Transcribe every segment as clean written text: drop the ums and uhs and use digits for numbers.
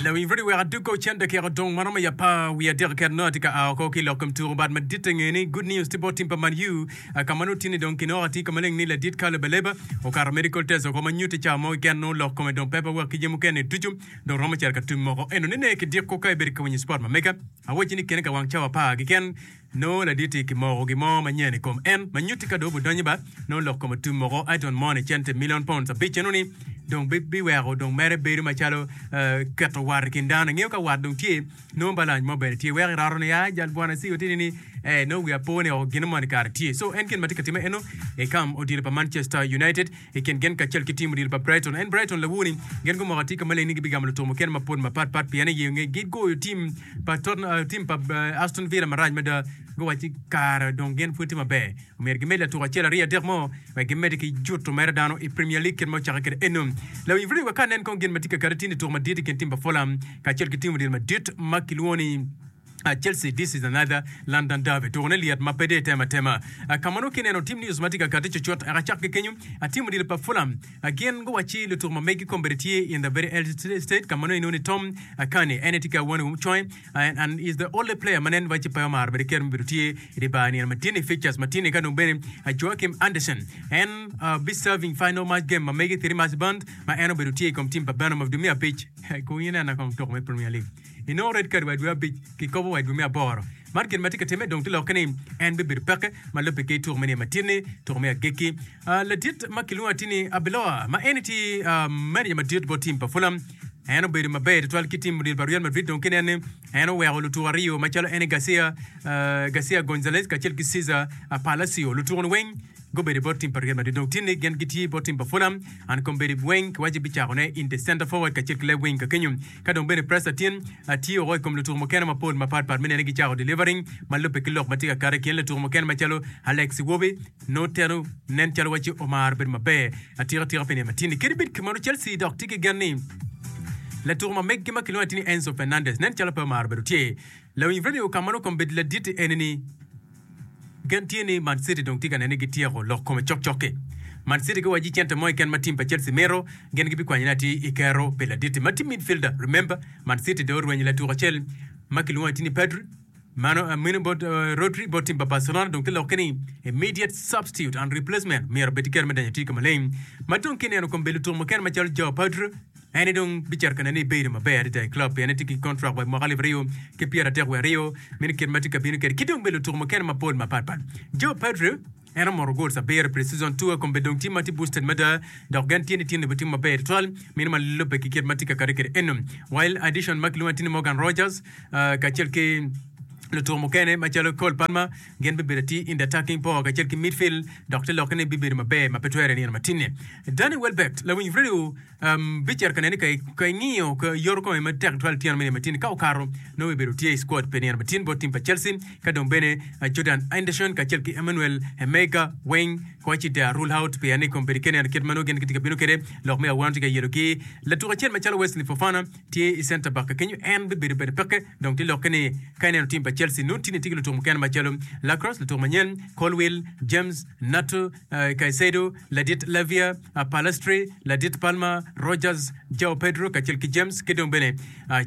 Lawiny Fredi wek adug ko cen dakika odong ma romo i apar wiye adek keken nongo atye ka a oko ki i lok kom tuko bat maditte nge ni good news tye bot tim pa Man U ka ma nongo tye ni dong kinoko atir ka maleng ni ladit Carlo Baleba okato medical test oko ma nyutti cawa mo keken nongo lok kome dong pe pa wek ki jami mukene ducu dong romo cito ka tum moko eno nene ki diko ka ibedo ka winyo sport ma mega awacci ni kene ka wang cawa apar keken Nongo ladit-ti kimoko gin mo manyen i kom en ma nyutti ka dong obidonyo ba nongo lok kom otum moko Aton moni cente milion pounds abic eno-ni dong biweko dong mere bedo macalo keto wat i kin dano. Ingeyo ka wat dong tye nongo balany mo bene tye weko iroto ni aa jal bwana Sigo tye ni eh nongo wiya po ni gin moni kare tye. So en gin ma tye ka timme eno i kam odilo pa Manchester United i kin gin kacel ki tim odilo pa Brighton. En Brighton lawur-ni gin gumoko atika maleng ni gibigamo lutuko mukene mapol mapat pat pien i nge gigoyo tim pa Tottenham, tim pa Aston Villa marac mada. Guwacci kare dong gin pud tye maber, omyero gimed latuko acel aryo adek mo wek gimedde ki juto mere dano i Premier League kit ma ocakke kwede eno. Lawiny Video wek ka nen kong gin ma tye ka kati tin i tuko madit i kin tim pa Fulham kacel ki tim odilo madit ma kilwongo ni Chelsea, this is another London derby. Tukone lyet ma pe dong itemo atema. Ka ma nongo kineno team news ma tye ka kati cucut eka cak ki kenyo, team odilo pa Fulham gin guwacci lutuko ma megi kombeddi tye in the very early stage ka ma nongo inongo ni Tom Cairney en aye tye ki awano i conge and is the only player ma nen wacci pe omaro bene kero me bedo tye i dye bar nino ma tye-ni fixtures ma tye-ni ka dong bene Joachim Andersen en be serving final match game ma megi three match band ma en obedo tye i kom team pa Bournemouth dwe me abic. Kong inena kong tuko me Premier League. Inongo red card wa i dwe abic, kikobo wa i dwe me aboro. Man gin ma tye ka timme dong tye lokke ni en bibedo peke ma lubbe ki tuko me niye matin-ni, tuko me agikki. Ladit ma kilwongo atir ni Arbeloa, ma en tye manager madit bot tim pa Fulham, en obedo maber tutwal ki tim odilo pa Real Madrid dong kinen ni en oweko lutuko aryo macalo en Garcia, Garcia Gonzalez kacel ki Cesar Palacio. Lutuko-ni weng Gubedo bot tim pa Real Madrid dong tin ni gin gitye bot tim pa Fulham and kombeddi weng kiwaco bicakone in the centre forward kacel ki left wing ka kenyo. Ka dong bene pressure tin tye oko i kom lutuku mukene mapol mapat pat me nene gicako delivering ma lubbe ki lok ma tye ka kato i kin lutuku mukene macalo Alex Iwobi nongo teno nen calo waci omaro bedo maber atika tika pi nino matin ni. Kadi bed kumeno Chelsea dok tye ki gen ni latuku ma meggi ma kilwongo atir ni Enzo Fernandez nen calo pe omaro bedo tye. Lawiny radio ka ma nongo kombeddi ladit eni ni Gen tye ni Man City dong tye ka neno ni gityeko lok kome cokcok-ki. Man City giwaco cente mo keken ma tim pa Chelsea mito, gin gibikwanyone atir i kero pi ladit-ti ma tye midfielder. Remember, Man City dong orwenyo latuko acel ma kilwongo atir ni Pedri, mano meno bot Rodri bot tim pa Barcelona dong tye lokke ni immediate substitute and replacement myero obed ki kero me donyo atir ka maleng. Ma dong kineno kom bedo lutuko mukene macalo Joao Pedro, En aye dong bicito ka neno ni ebedo maber adada i club pien etye ki kontrak wa i mwaka 2032 meno kit ma tye ka bino kwede ki dong bene lutuku mukene mapol mapat pat. Joe Pedro en omoto goals abiro i pre-season tour kombeddi dong tye ma tye boosted mada dok gen tye ni tye ni bitimo maber tutwal meno ma lubbe ki kit ma tye ka kati kwede eno. While addition ma kilwongo atir ni Morgan Rogers kacel ki lutuku mukene macalo Cole Palmer gin bibedo atir in the attacking power kacel ki midfield dok te lokke ni bibedo maber ma pe twere i nino matinni. Danny Welbeck lawiny radio Bicito ka nene ni ka ingiyo yoto kome matek tutwal tyeno me nino matin ka okato nongo bibedo tye i squad pi nino matin bot tim pa Chelsea ka dong bene Jordan Henderson kacel ki Emmanuel Emega weng kowaci they are rule out pien ni kombeddi ka ineno kit ma nongo gin gitye ka bino kwede lok me awano tye ka yelogi. Latuk acel macalo Wesley Fofana tye i center back ka kenyo en bibedo bene peke dong tye lokke ni ka ineno tim pa Chelsea nongo tye ni tye ki lutuk mukene macalo Lacrosse lutuk manyen Colwill, James, Nato, Caicedo, ladit Lavia, Palestri, ladit Palmer, Rogers, Joao Pedro kacel ki James ki dong bene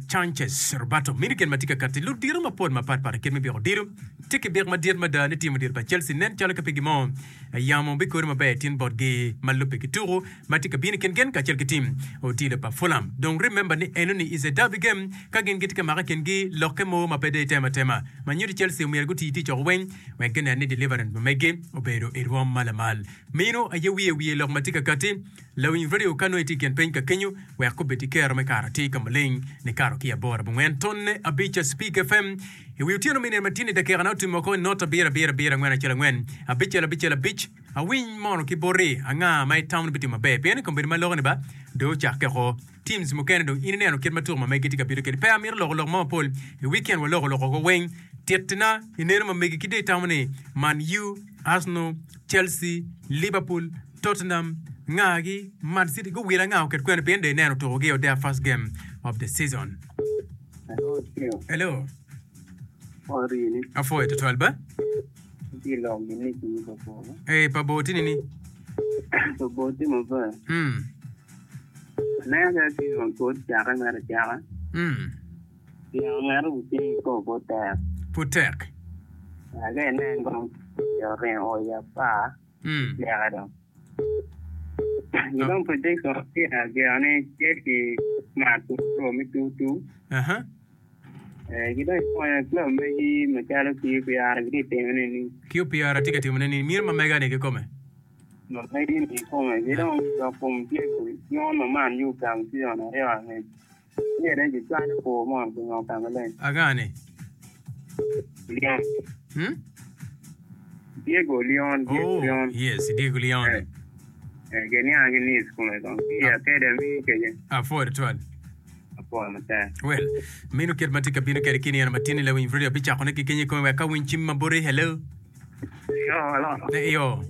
Sanchez Roberto. Mini gin ma tye ka katti ludito mapol mapat pat i kit me byeko odilo. Tye ki byek madit mada ni tim odilo pa Chelsea nen calo ka pe gin mo yamo bikori maber tin botgi ma lubbe ki tuku ma tye ka bino i kin gin kacel ki tim odilo pa Fulham. Dong remember ni enoni is a derby game ka gin gitye ka make i kingi lokke mo ma pe dong itemo atema ma nyuto Chelsea omyero guti tic oko weng wek ginen ni deliverance ma megi obedo i rwom ma lamal. Meno aye wiye wiye lok ma tye ka katti. Lawiny radio ka nongo itye i kin piny ka kenyo, wek obed ki kero me kato atir ka maleng nikato ki aboro abongwen tonne abic Speak FM i wi otyeno me nino ma tye-ni dakikana otimo oko i not abiro abiro abiro angwen acel angwen abicel abicel abic. Awiny mono ki boti anga ma itamo ni bitimo maber pien i kombeddi ma loko ni ba dong ocakke oko. Teams mukene dong in ineno kit ma tuko ma megi tye ka bino kwede. Pe amito loko lok mo mapol. I weekend waloko lok oko weng. Tittina ineno ma megi ki dong itamo ni Man U, Arsenal, Chelsea, Liverpool, Tottenham, nga-gi, Man City guwilo anga oket kwene pien dong ineno tuko gi o their first game of the season. Hello. Apwoyo tutwal ba. Eh, pa bor tini ni. Mm. Aneno ka season pud ocakke mere acaka. Pien ngat obucing i kor pud tek. Pud tek. Ka inen kong oringo o i apar leke dong. Dong prediction tye ageno ni Chelsea mato draw me 2-2. Ki dong ikonyo club megi macalo QPR gitye ka timone ni. QPR tye ka timone ni mino ma mega ni kikome. Ma megi ni kikome. Ki dong lok kom Diego Leon ma Man U ogamo season aryo angec. Myero ni gicwalo kwo mo pingo ka maleng. Anga ni? Leon. Hmm? Diego Leon, Diego Oh, Leon. yes, Diego Leon. Eh, eh, giniang ki Nice kome kong. Ki i academy kece. Apwoyo twal. Apwoyo matek. Well, meno kit ma tye ka bino kwede ki nino matini lawiny radio abicakone ki kenyo i kome wek ka winy cim ma boti. Hello. Yo, hello. Eh, Iyo.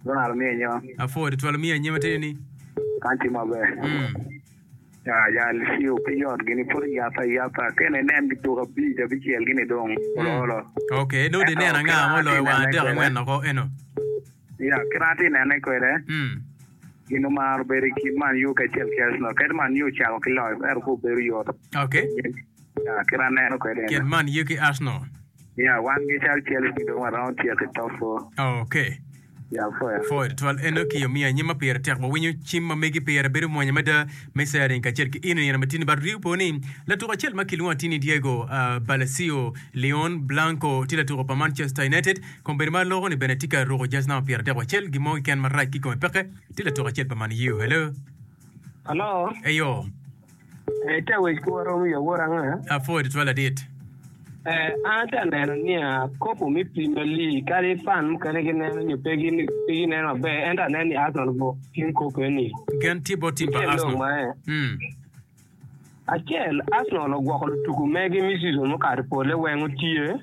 Ronald miyo anyima. Apwoyo twal miyo anyima tye ni. Kan tye maber. Mm. Ya, jal ciyo pe yot gini pud iyabbe ayaba kene inen gituko abic abicel gini dong olo olo. Ok, nongo di Ento neno anga kit ma ma atye oloyo wang nene adek kwede, angwen oko eno. ya, kit ma atye nene kwede, Mm. gin omaro bedo i kin Man U kacel ki Arsenal. Kadi Man U ocako ki loyo, ento pe obedo yot. Ok. Ya, kit ma aneno kwede Kin ene. Man U ki Arsenal. Ya, wan ki cal Chelsea dong waromo tyeko i top four. Ok. Ya, pwoya. Pwoyo tutwal eno ki omiyo anyim ma pire tek wawinyo cim ma megi pire bedo mwonya mada me sharing kacel ki in i nino matini but riu po ni latuko acel ma kilwongo atir ni Diego Balacio Leon Blanco tye latuko pa Manchester United kombeddi ma aloko ni bene tye ka ruko jaz namba 31 gin mo keken marac ki kome peke tye latuko acel pa Man U. Hello. Hello. Eyo. Ite wec kwo romo i awor anga? Apwoyo tutwal ladit. An atye ka neno niya, kopo me Premier League kadi fan mukene gineno nyo pe gineno maber ento aneno ni Arsenal obuko cing kopo eni. Gen tye bot tim pa Tyen lok Arsenal. ma Acel, Arsenal ogwoko lutuku megi me season mukato pole weng otye.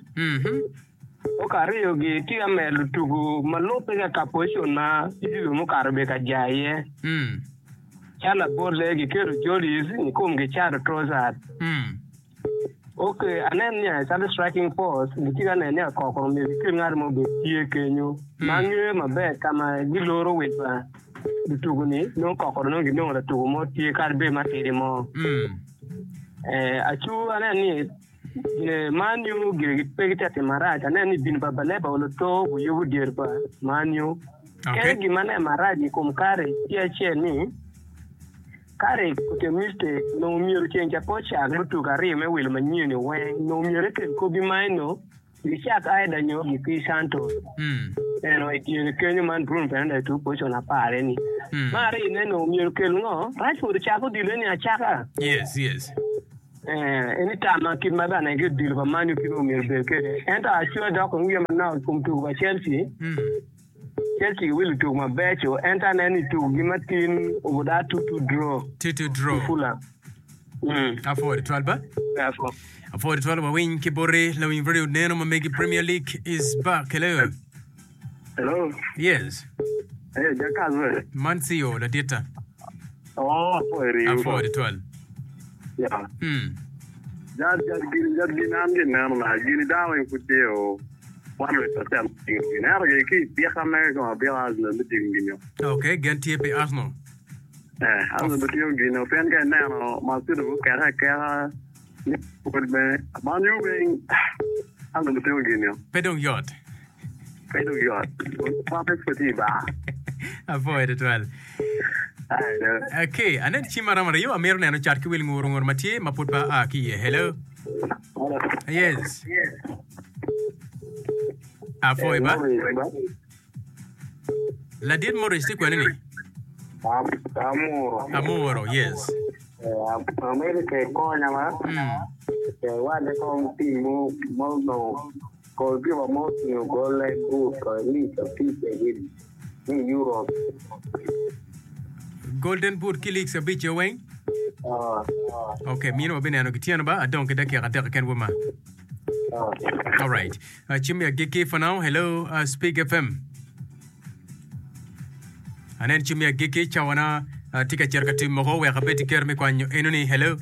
Ok aryo gi tye ka medo lutuku ma lubbe ka ka position ma season mukato obedo ka ja iye. Calo labolle giketo Jollies i kom gicato Trossard. Ok, aneno ni calo striking force gitye ka neno ni akokoro myero gikel ngat mo obed tye kenyo ma ngeyo maber ka ma giloro wil pa lutuku ni nongo kokoro nongo ginongo latuku mo tye kadi bed matidi mo. Acu aneno ni Man U gire pe gitye ka timo marac. Aneno ni bino pa Baleba oloto guyubo dyere pa Man U. Kene gin ma aneno marac i kom Carrick tye acel ni, Carrick otimo mistake, onongo myero ceng ca pe ocak lutugo aryo me wilo manyen-ni weng, onongo myero ekel Kobbie Mainoo Gicak Aida nyo gikir Santos eno i dyere kenyo man Bruno Fernandes tuko pocon apar eni. Me aryone nongo myero okel ngo? Rashford ocak odilo eni acaka. Yes, yes. Eh, eni tamma kit ma bene ki odilo pa Man U kit ma myero obed kwede. Ento acwe dok kong wiya manok i kom tuko pa Chelsea. Chelsea giwilo tuko mabeco ento aneno ni tukogi matin obuda 2-2 draw 2-2 draw. ki Fulham. Mm. Apwoyo twal ba. Apwoyo. Apwoyo twal wawiny ki boti lawiny radio neno ma megi Premier League is back. Hello. Hello. Yes. Hey, Jakaz we. Man CEO ladita. Oh, apwoyo riu. Apwoyo twal. Yeah. Mm. Jat jat gini jat gini an gin neno na gini dano weng pud tye o 100% tingo gini ento gini ki i bika mege kong abika Arsenal me tingo gini o. Okay, gen tye pi Arsenal. Eh, Arsenal otingo gini o pien ka ineno Man City gukeke akeka Liverpool bene Man U bene Arsenal otingo gini o. Pe dong yot. Pe dong yot. Pape pud tye i bar. Apwoyo tutwal. Okay, anen cim maromo aryo amito neno cat ki wil nguru nguru ma tye ma pud pe aa ki iye. Hello. Yes. Apwoyo ba. Ladit Morris tye kwene ni? Amuro. Amuro, yes. Amito ke konya ma. Mm. Ke wadde kong tim mo mo no goalkeeper mo otingo goal-le but at least abic gi i Europe. Golden boot ki leagues abic-ce weng? Ah. Ok, mino wabineno gityeno ba, adong ki dakika adek keken wema. Ah. Alright. Uh, cim me agikki for now. Hello, uh, Speak FM. Anen cim me agikki cawana uh, tye ka cito ka tim moko wek abed ki kero me kwanyo enoni. Hello.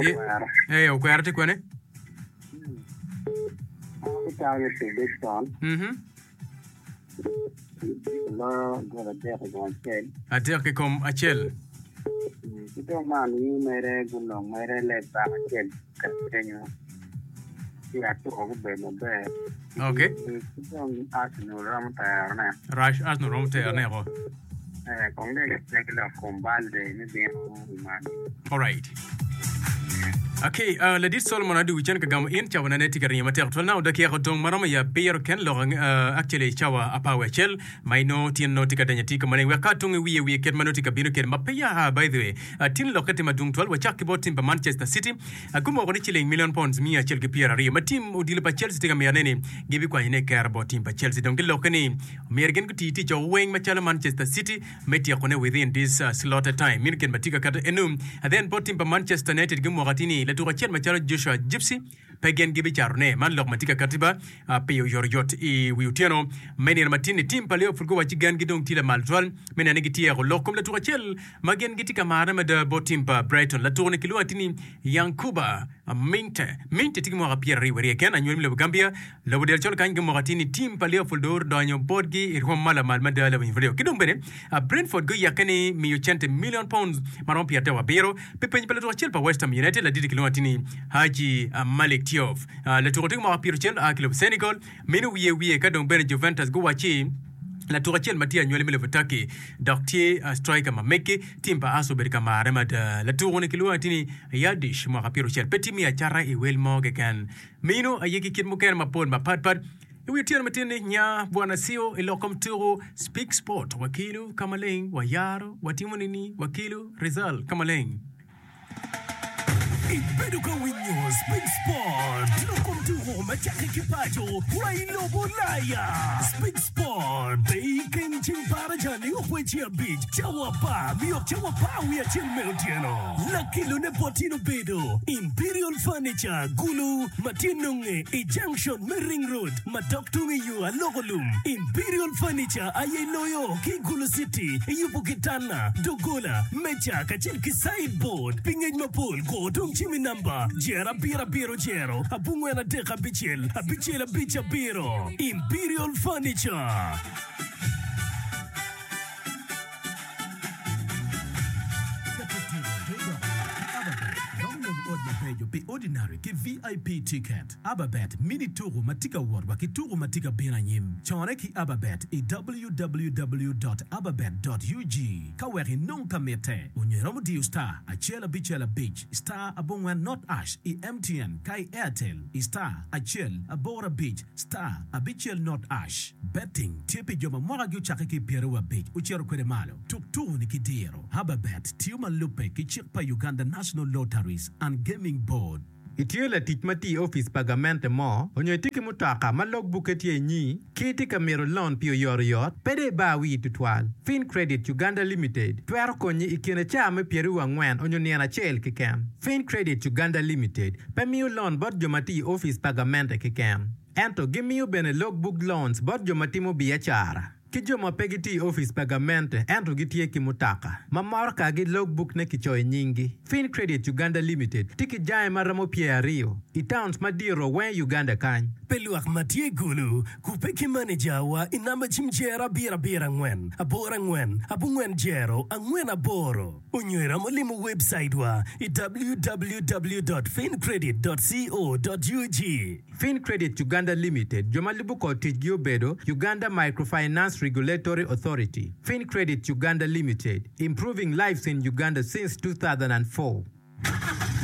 Ye- Eh, okwero tye kwene? Mhm. Adek i kom acel. Ki dong Man U mere gunong mere left back acel kenyo ci atuko gubedo maber. Okay. Ki dong Arsenal romo terone. Rush Arsenal romo terone ko. Eh, kong dong gitye ki lok kom Balde me bino i Man U. Alright. Okay, uh, ladit Solomon Adu cen ka gamo in cawa nane tye ka ringo matek twal now dakika odong maromo ya abiro ken lok uh, actually cawa apar wiye acel ma inongo tyen nongo tye ka denyo atir ka maleng wek ka atung i wiye wiye kit ma nongo tye ka bino kwede ma peya aa by the way tin lokke tye madwong twal wacak ki bot tim pa Manchester City gumoko ni ciling million pounds 120 ma tim odilo pa Chelsea tye ka mito ne ni gibikwanyo ne kero bot tim pa Chelsea dong gilokke ni myero gin guti tic weng macalo Manchester City me tyeko ne within this slotted time meno gin ma tye ka kato enu then bot tim pa Manchester United gumoko atir ni latuk acel macalo Joshua Gypsy Pe gin gibicatone. Man lok ma tye ka katti ba pi oyotoyot i wi otyeno me nino matin-ni. Tim pa Liverpool guwacci gengi dong tye lamal tutwal me neno ni gityeko lok kom latuko acel ma gin gitye ka marone mada bot tim pa Brighton. Latuko-ni kilwongo atir ni Yankuba Minteh. Minteh tye ki mwaka pyeraryo wiye aryo keken, anywali me lobo Gambia. Lobo del col kany gumoko atir ni tim pa Liverpool dong odonyo botgi i rwom ma lamal mada lawiny radio. Ki dong bene, Brentford guyekke ni miyo cente million pounds ma romo 37 pi peny pa latuko acel pa West Ham United laditi kilwongo atir ni Hadji Malick Diouf. Latuko tye ki mwaka pyeraucel a ki lobo Senegal. Meno wiye wiye ka dong bene Juventus guwacci latuko acel ma tye anywali me lobo Turkey dok tye striker ma meggi, tim pa Arsenal obedo ka marre mada. Latuko-ni kilwongo atir ni Yildiz mwaka pyeraucel pe tye miyo acata i wel mo keken. Meno aye ki kit mukene mapol mapatpat. I wi otyeno matin-ni, nya Bwana Sio i lok kom tuko Speak Sport wakelo ka maleng, wayaro, watimo nini, wakelo result ka maleng. Ibedo ka winyo Speak Sport, lok kom tuko ma cakke ki paco wa i lobo Ulaya. Speak Sport pe i kin ceng baraja nio kweci abic, cawa apar nio cawa apar wiye acel me otyeno. Lakelone bot in obedo Imperial Furniture Gulu ma tye nonge i junction me Ring Road ma dok tung i yo Aloko Lum. Imperial Furniture aye loyo ki i Gulu City i yubo kitanda, doggola, meja kacel ki sideboard. Pi ngec mapol go tung cim i namba jer abiro abiro jero abongwen adek abicel abicel abic abiro. Imperial Furniture. Keto tuko te doko yot ki Ababet romo nongo ot mabeco pi Ordinary ki VIP ticket. Ababet mini tuko ma tye ka wot wa ki tuko ma tye ka bino anyim. Cone ki Ababet i www dot ababet dot ug ka wek inong ka mitte. Onyo iromo diyo star acel abicel abic star abongwen not ash i MTN ka i Airtel i star acel aboro abic star abicel not ash. Betting tye pi jo ma mwakagi ocakke ki i pyeraryo abic ocito kwede malo. Tuk tuko-ni ki diro. Hababet tiyo ma lubbe ki cik pa Uganda National Lotteries and Gaming Board. Itye latic ma tiyo i opic pa gamente mo, onyo itye ki mutoka ma log bukke tye inyi, ki itye ka mito lon pi oyotoyot, pe dong ibar wii tutwal. Fincredit Uganda Limited twero konyi i kine caa me pyeraryo angwen onyo nino acel keken. Fincredit Uganda Limited pe miyo lon bot jo ma tiyo i opic pa gamente keken. Ento gimiyo bene logbook loans bot jo ma timo biacara ki jo ma pe gitiyo i opic pa gamente ento gitye ki mutoka ma morokagi logbook-ne kicoyo nyinggi. Fincredit Uganda Limited tye ki jange ma romo pyeraryo i towns madito weng i Uganda kany. Pi lwak ma tye i Gulu, kubbe ki manejawa i namba cim jero abiro abiro angwen aboro angwen abongwen jero angwen aboro. Onyo iromo limo webcaitwa i www dot fincredit dot co dot ug. Fincredit Uganda Limited, jo ma lubo kor ticgi obedo, Uganda Microfinance Regulatory Authority, Fincredit Uganda Limited, Improving lives in Uganda since 2004.